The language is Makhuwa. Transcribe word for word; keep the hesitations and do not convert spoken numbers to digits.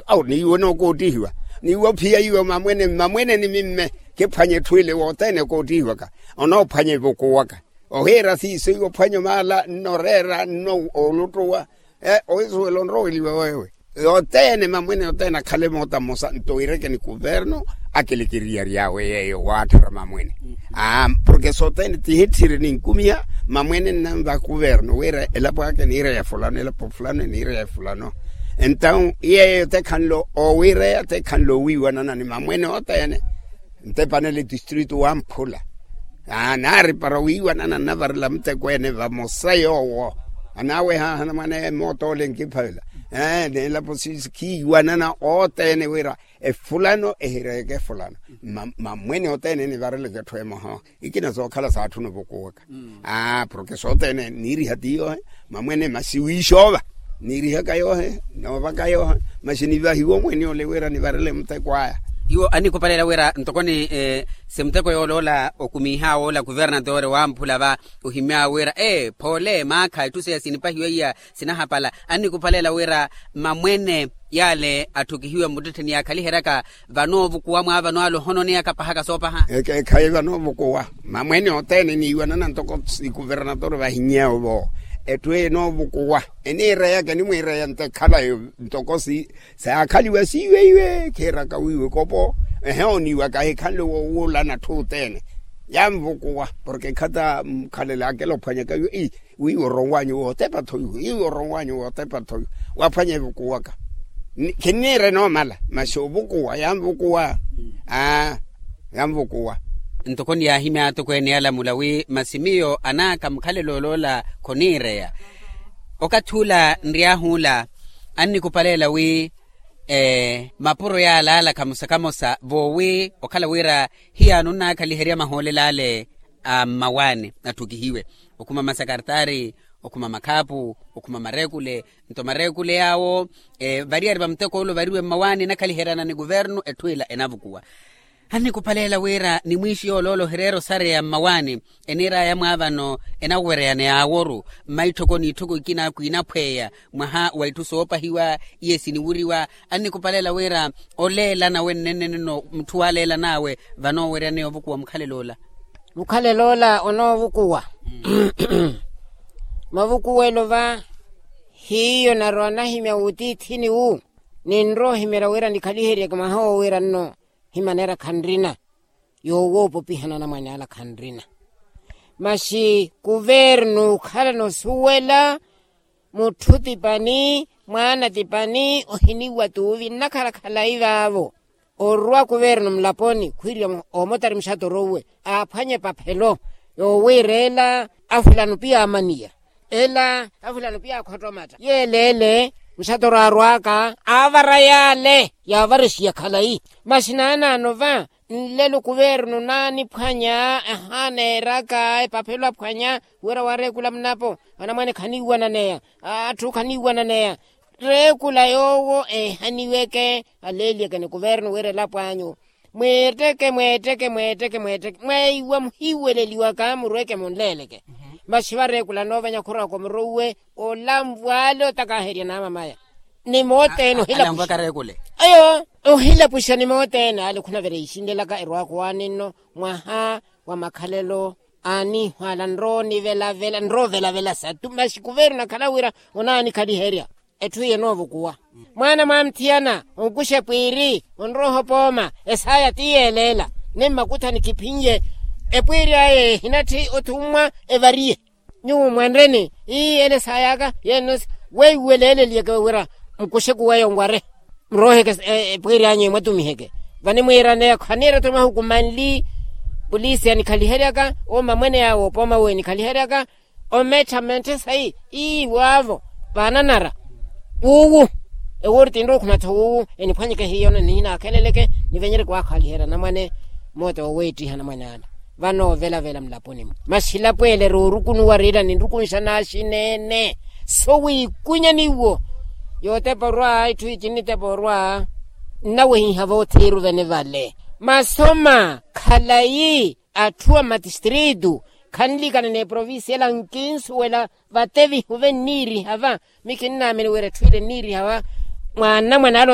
Awo niiwe nookoottihiwa. Niiwe ophiya iwe mamwene mamwene ni mimme. Kiphwanye etthu ile wothene okoottihiwaka onoophwanya evukuwaka. Ohiira siiso iwe ophwanya omaala nnoreera nno oluttuwa. Oisuwela onroweliwa wewe. Yothene mamwene othene akhale moota mmosa nto wiireke ni kuvernu. Akilekeriyary'awe yeeyo waatthara mamwene. Porke sothene tihitthiri ninkumiha mamwene nnanva kuvernu wira elapo aka eniira ya fulano elapo fulano eniira ya fulano. Entawu yeeyo tekhanle owiireya tekhanle owiiwanana ni mamwene othene. Ntepanele tistritu wamphula. Naari para wiiwanana nnavarela muteko ene vamosa yoowo. Anaawehaahana mwaneya emootoole nkiphavela. Neelapo siisikhiiwanana othene wira efulano ehireeke efulano. Mamwene othene enivareleke etthu emoha. Ikina sookhala saatthuna ovukuwaka. Porke sothene niiriha ti yoohe. Mamwene masi wiixoova niirihaka yoohe noovaka yoohe. Masi nivahiwe omweene ole wira nivarele muteko aya. Iwo annikupalela wira ntoko ni si muteko yooloola okumiihaawe ola kuvernatore wamphula va ohimyaawe wira ee phoole maakha etthu seya sinipahiwa iya sinahapala. Annikupalela wira mamwene yaale atthukihiwe mmuttettheni yaakhaliheryaka vanoovukuwa mwaavano ale ohononeyaka pahaka soopaha. Ekhayi vanoovukuwa mamwene othene eniiwanana ntoko sikuvernatore vahiny'awe vo. Etthu enoovukuwa eniireyaka enimwiireya nto ekhalayo ntoko siyaakhaliwa siiweiwe khiiraka wiiwe kopo. Ehe oniiwaka ahikhanle woowulana atthu othene. Yanvukuwa porke ekhata mukhalelakela ophwanyaka iwe. Wiiwo oronw'anyu wootepa-tho iwe wiiwo oronw'anyu wootepa-tho iwe. Waphwanya evukuwaka. Khinniire enoomala masi ovukuwa yanvukuwa. Aa yanvukuwa. Ntoko niyaahimya atokweene alamula wi masi miyo anaaka mukhalelo oloola khoniireya. Okathi ula nry'ahu ula annikupalela wi mapuro yaala ala kamosa kamosa voowi okhala wira hiyaano nnaakhaliherya mahoolelo ale a mmawaani atthukihiwe. Okhuma masakartari okhuma makhaapu okhuma mareekule. Nto mareekule yaawo variyari va muteko ole ovariwe mmawaani enakhaliheryana ni kuvernu etthu ila enavukuwa. Annikupalela wira ni mwiixi yooloola ohireera osareya mmawaani eniir'aya mwaavano enawereyana yaaworu mmaitthoko n'itthoko ikina akwiinaphweya. Mwaha wa itthu soopahiwa iye siniwuriwa. Annikupalela wira oleela nawe nnenneneno mutthu waaleelan'awe vanooweryaneya ovukuwa mukhalelo ola. Mukhalelo ola onoovukuwa mavukuwelo va hiyo narowa nahimya wutiithini wu. Ninrowa ohimeerya wira nikhaliheryeke mwaha woowiira nno himaneera khanrina yoowoopopihana anamwane ala khanrina. Masi kuvernu okhala nosuwela mutthu tipani mwaana tipani ohiniwa tuuvi nnakhala khalayi vaavo. Orwa kuvernu mulaponi khwiirya omotari muxatoro uwe aaphwanye epaphelo yoowiira ela afulano piya amaniya ela afulano piya akhottomatta yeeleele. Muxatoro aarw'aka aavara yaale yaavaresiya khalayi. Masi naanaano va nlelo kuvernu naaniphwanya ehaaneeraka epaphelo aphwanya wira wareekula munapo anamwane khaniiwananeya atthu khaniiwananeya. Reekula yoowo eehaniweke aleeliyeke ni kuvernu wira elapo anyu mweetteke mweetteke mweetteke mweetteke mwaiwa muhiiweleliwaka murweke munleeleke. Masi vareekula noovanya khuraka omurouwe olanvwa ale otakaherya naamamaya ni moothene ohilapuxa. Ayo ohilapuxa ni moothene ale khunavereya isinlelaka erwaka owaani nno mwaha wa makhalelo aaniihwaala nroonivelavela nroovelavela satu masi kuveeri onakhala wira onaanikhaliherya. Etthu iye enoovukuwa mwaana mwamutthiyana onkuxa epwiiri onroha opooma esaaya ti yeeleela ni mmakuthani kiphinye epwiiri aya ehinatthi othummwa evariye. Nyuwo mwanreni ii ele saay'aka yeenno weiweleleliyeke wira mukuxeku weyo nware murooheke epwiiri anyu emwatumiheke. Vanimwiiraneya khaniira tho mahuku manli pulisi anikhaliheryaka ooma mwene yaawe opooma uwo enikhaliheryaka omettha mmetthe sayi ii waavo vaananara wuuwu. Ewuuri tinrowa okhunatha wuuwu eniphwanyeke hiyo nihinaakheleleke nivenyereke waakhaliherya anamwane moote woweettiha anamwane ala. Vano ovelavela mulaponi-mu masi ilapo ele eroorukunuwa riira ninrukunsha naaxineene so wiikunya niwo yootepa orwa itthu ici nnitepa orwa nnawehiha voothiruvene vale. Masoma khalayi atthu a matistritu khanliikana n'eprovincia ela nkinsuwela vatevihu venniiriha va. Mi kinnaamini wira etthu ile enniiriha va mwa nnamwane ale